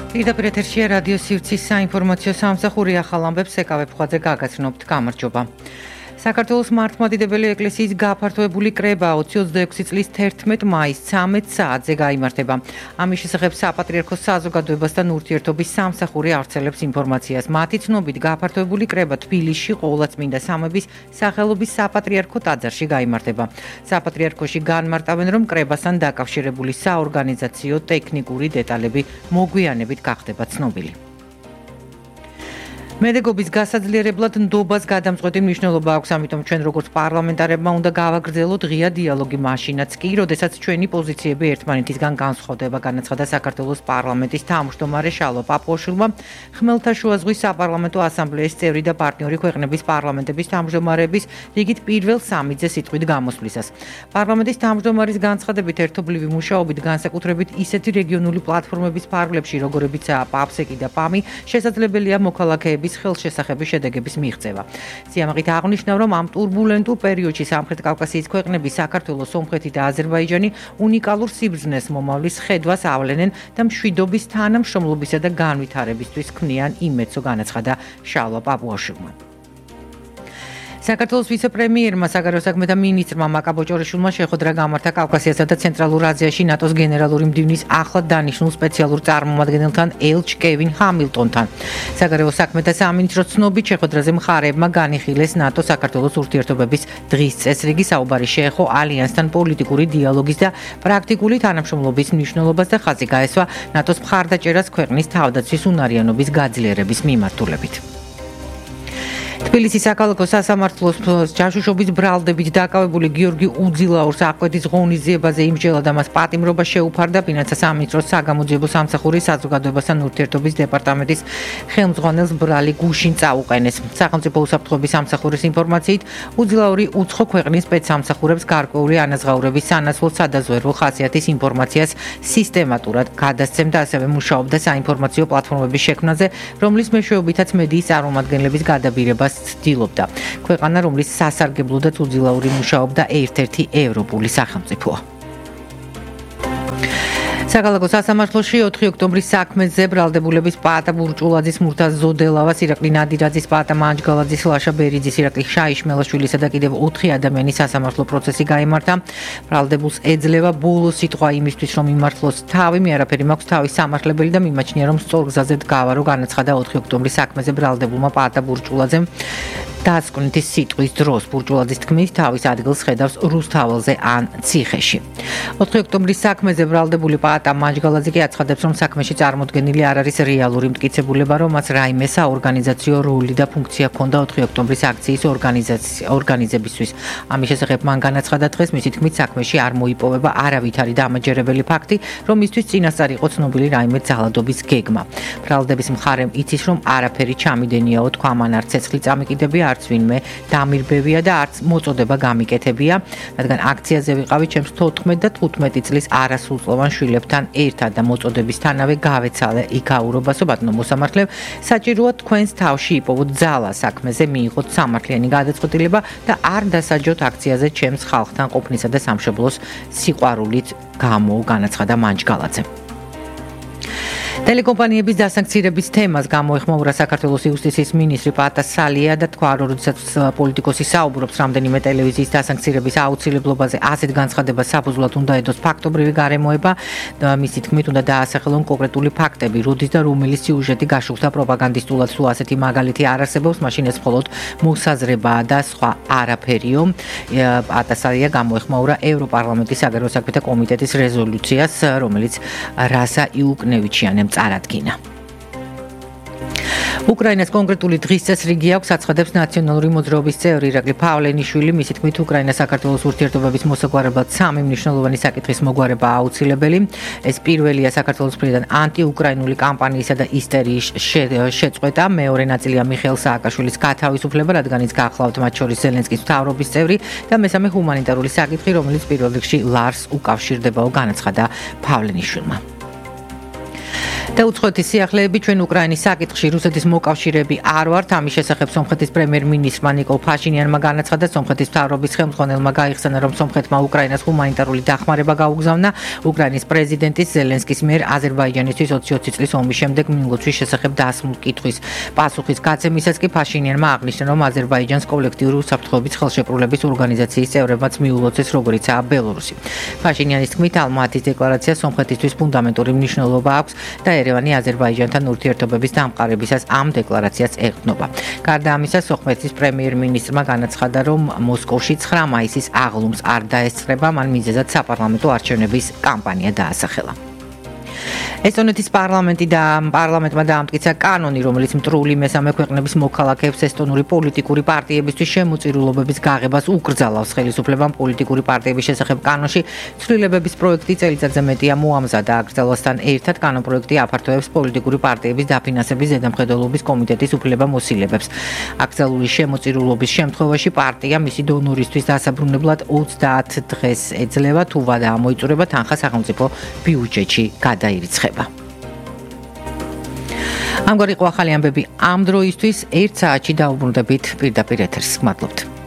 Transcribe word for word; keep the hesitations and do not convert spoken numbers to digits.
პირდაპირ ეთერშია რადიო სივრცის საინფორმაციო სამსახური ახალ ამბებს ეკავებ ხვაძე გაგაცნობთ. გამარჯობა. საქართველოს მართლმადიდებელი ეკლესიის გაფართოებული კრება ოცი ოცდაექვსი წლის თერთმეტ მაისს ცამეტ საათზე გაიმართება. ამის შესახებ საპატრიარქოს საზოგადოებასთან ურთიერთობის სამსახური ავრცელებს ინფორმაციას. მათი ცნობით გაფართოებული კრება თბილისში ყოვლადწმინდა სამების სახელობის საპატრიარქო ტაძარში გაიმართება. საპატრიარქოში განმარტავენ, რომ კრებასთან დაკავშირებული საორგანიზაციო ტექნიკური დეტალები მოგვიანებით გახდება ცნობილი. მედეგობის გასაძლიერებლად ნდობას გადამწყვეტი მნიშვნელობა აქვს, ამიტომ ჩვენ როგორც პარლამენტარებმა უნდა გავაგრძელოთ ღია დიალოგი მაშინაც კი, როდესაც ჩვენი პოზიციები ერთმანეთისგან განსხვავდება, განაცხადა საქართველოს პარლამენტის თავმჯდომარე შალვა პაპუაშვილმა, ხმელთაშუა ზღვის საპარლამენტო ასამბლეის წევრი და პარტნიორი ქვეყნების პარლამენტების თავმჯდომარეების რიგით პირველ სამიძე სიტყვით გამოსვლისას. პარლამენტის თავმჯდომარის განცხადებით, ერთობლივი მუშაობით განსაკუთრებით ისეთი რეგიონული პლატფორმების ფარგლებში, როგორებიცაა პაფსეკი და პამი, შესაძლებელია მოქალაქეების ხელშესახების შედეგების მიღწევა. სიამაყით აღნიშნა, რომ ამ ტურბულენტურ პერიოდში სამხრეთ კავკასიის ქვეყნები, საქართველო, სომხეთი და აზერბაიჯანი უნიკალურ სიბრძნეს მომავლის ხედვას ავლენენ და მშვიდობის თანამშრომლობისა და განვითარებისთვის ქმნიან იმედსო, განაცხადა შალვა პაპუაშვილმა. საქართველოს ვიცე-პრემიერმა საგარეო საქმეთა მინისტრმა მაკა ბოჭორიშვილმა შეხვედრა გამართა კავკასიასა და ცენტრალურ აზიაში ნატოს გენერალური მდივნის ახლად დანიშნულ სპეციალურ წარმომადგენელთან ელჩ კევინ ჰამილტონთან. საგარეო საქმეთა სამინისტროს ცნობით შეხვედრაზე მხარეებმა განიხილეს ნატო საქართველოს ურთიერთობების დღის წესრიგი, საუბარი შეეხო ალიანსთან პოლიტიკური დიალოგის და პრაქტიკული თანამშრომლობის მნიშვნელობას და ხაზი გაესვა ნატოს მხარდაჭერას ქვეყნის თავდაცვის უნარიანობის გაძლიერების მიმართულებით. თბილისის საქალაქო სასამართლოს ჯაშუშობის ბრალდებით დაკავებული გიორგი უძილაურს აკვეთის ღონისძიებაზე იმსჯელა და მას პატიმრობა შეუფარდა ფინანსთა სამინისტროს საგამოძიებო სამსახური საზოგადოებასთან ურთიერთობის დეპარტამენტის ხელმძღვანელს ბრალი გუშინ წაუყენეს. სახელმწიფო უსაფრთხოების სამსახურის ინფორმაციით, უძილაური უცხო ქვეყნის სპეცსამსახურებს გარკვეული ანაზღაურების სანაცვლოდ სადაზვერვო ხასიათის ინფორმაციას სისტემატურად გადასცემდა, ასევე მუშაობდა საინფორმაციო პლატფორმების შექმნაზე, რომლის მეშვეობითაც მედიის წარმომადგენლების გადაბირებას ცდილობდა. ქვეყანა, რომლის სასარგებლოდაც უძილაური მუშაობდა, ერთ-ერთი ევროპული სახელმწიფოა. საქალაქო სასამართლოში ოთხი ოქტომბრის საქმეზე ბრალდებულების პაატა ბურჭულაძის, მურთაზ ზოდელავას, ირაკლი ნადირაძის, პაატა მანჯგალაძის, ლაშა ბერიძის, ირაკლი შაიშმელაშვილისა და კიდევ ოთხი ადამიანის სასამართლო პროცესი გაიმართა. ბრალდებულს ეძლევა ბოლო სიტყვა იმისთვის, რომ იმართლოს თავი, მე არაფერი მაქვს თავის სამართლებელი და მიმაჩნია, რომ სწორ გზაზე დგავა, რო განაცხადა ოთხი ოქტომბრის საქმეზე ბრალდებულმა პაატა ბურჭულაძემ. დასკვნითი სიტყვის დროს ბურჭულაძის თქმით, თავის ადგილს ხედავს რუსთაველზე ან ციხეში. ოთხი ოქტომბრის საქმეზე ბრალდებული პაატა მანჯგალაძე კი აცხადებს, რომ საქმეში წარმოდგენილი არ არის რეალური მტკიცებულება, რომ მას რაიმე საორგანიზაციო როლი და ფუნქცია ჰქონდა ოთხი ოქტომბრის აქციის ორგანიზებისთვის. ამის შესახებ მან განაცხადა დღეს, მისი თქმით, საქმეში არ მოიპოვება არავითარი დამაჯერებელი ფაქტი, რომ მისთვის წინასწარ იყო ცნობილი რაიმე ძალადობის გეგმა. ბრალდების მხარემ იცის, რომ არაფერი ჩამიდენიაო, თქვა, მან არც ცეცხლი წამიკიდებია, არც ვინმე დამირბევია და არც მოწოდება გამიკეთებია, რადგან აქციაზე ვიყავი ჩემს თოთხმეტ და თხუთმეტი წლის არასრულწლოვან შვილებთან ერთად და მოწოდებისთანავე გავეცალე იქაურობასო, ბატონო მოსამართლე, საჭიროა თქვენს თავში იპოვოთ ძალა, საქმეზე მიიღოთ სამართლიანი გადაწყვეტილება და არ დასაჯოთ აქციაზე ჩემს ხალხთან ყოფნისა და სამშობლოს სიყვარულით გამო, განაცხადა მანჯგალაძემ. ტელეკომპანიების დასანქცირების თემას გამოეხმაურა საქართველოს იუსტიციის მინისტრი პაატა სალია და თქვა, რომ როდესაც პოლიტიკოსი საუბრობს რამდენიმე ტელევიზიის დასანქცირების აუცილებლობაზე, ასეთ განცხადებას საფუძვლად უნდა ედოს ფაქტობრივი გარემოება და მისი თქმით უნდა დაასახელონ კონკრეტული ფაქტები, როდის და რომელი სიუჟეტი გაშუქდა პროპაგანდისტულად, თუ ასეთი მაგალითი არ არსებობს, მაშინ ეს მხოლოდ მოსაზრებაა და სხვა არაფერიო. პაატა სალია გამოეხმაურა ევროპარლამენტის საგარეო საქმეთა კომიტეტის რეზოლუციას, რომელიც რასა იუკნევიჩიანემ წარადგინა. უკრაინას კონკრეტული დღის წესრიგი აქვს, აცხადებს ნაციონალური მოძრაობის წევრი ირაკლი პავლენიშვილი. მისი თქმით, უკრაინა საქართველოს ურთიერთობების მოსაგვარებლად სამი მნიშვნელოვანი საკითხის მოგვარება აუცილებელი. ეს პირველია საქართველოს მხრიდან ანტიუკრაინული კამპანიისა და ისტერიის შეწყვეტა. მეორე ნაწილია მიხეილ სააკაშვილის გათავისუფლება, რადგან ის გახლავთ მათ შორის ზელენსკის მთავრობის წევრი და მესამე ჰუმანიტარული საკითხი, რომელიც პირველ რიგში ლარს უკავშირდებაო, განაცხადა პავლენიშვილმა. და უცხოეთის სიახლეები ჩვენ უკრაინის საკითხში რუსეთის მოკავშირეები არ ვართ. ამის შესახებ სომხეთის პრემიერ-მინისტრმა ნიკოლ ფაშინიანმა განაცხადა, სომხეთის მთავრობის ხელმძღვანელმა გაიხსენა, რომ სომხეთმა უკრაინას ჰუმანიტარული დახმარება გაუგზავნა. უკრაინის პრეზიდენტის ზელენსკის მიერ აზერბაიჯანისთვის ოცი ოცი წლის ომის შემდეგ მინლოცვის შესახებ დასმულ კითხვის პასუხის გაცემისას კი ფაშინიანმა აღნიშნა, რომ აზერბაიჯანს კოლექტიური უსაფრთხოების ხელშეკრულების ორგანიზაციის წევრებმაც მიულოცეს, როგორიცაა ბელორუსი. ფაშინიანის თქმით, ალმატის დეკლარაცია სომხეთისთვის ფუნდამენტური მნიშვნელობა აქვს და ერევანი აზერბაიჯანთან ურთიერთობების დამყარებისას ამ დეკლარაციას ეყრდნობა. გარდა ამისა, სომხეთის პრემიერ-მინისტრმა განაცხადა, რომ მოსკოვში ცხრა მაისის აღლუმს არ დაესწრება, მან მიზეზად საპარლამენტო არჩევნების კამპანია დაასახელა. ესტონეთის პარლამენტი და პარლამენტმა დაამტკიცა კანონი, რომელიც მტრული მესამე ქვეყნების მოქალაქეებს ესტონური პოლიტიკური პარტიებისთვის შემოწირულობების გაღებას უკრძალავს. ხელისუფლებამ პოლიტიკური პარტიების შესახებ კანონში ცვლილებების პროექტი წელიწადზე მეტია მოამზადა. აკრძალვასთან ერთად კანონპროექტი აფართოებს პოლიტიკური პარტიების დაფინანსების ზედამხედველობის კომიტეტის უფლებამოსილებებს. აკრძალული შემოწირულობის შემთხვევაში პარტია მისი დონორისთვის დასაბრუნებლად ოცდაათ დღეს ეძლევა, თუ ვადა ამოიწურება, თანხა სახელმწიფო ბიუჯეტში გადაირიცხება. ამგვარი იყო ახალი ამბები ამ დროისთვის. ერთ საათში დაუბრუნდებით პირდაპირ ეთერს. მადლობთ.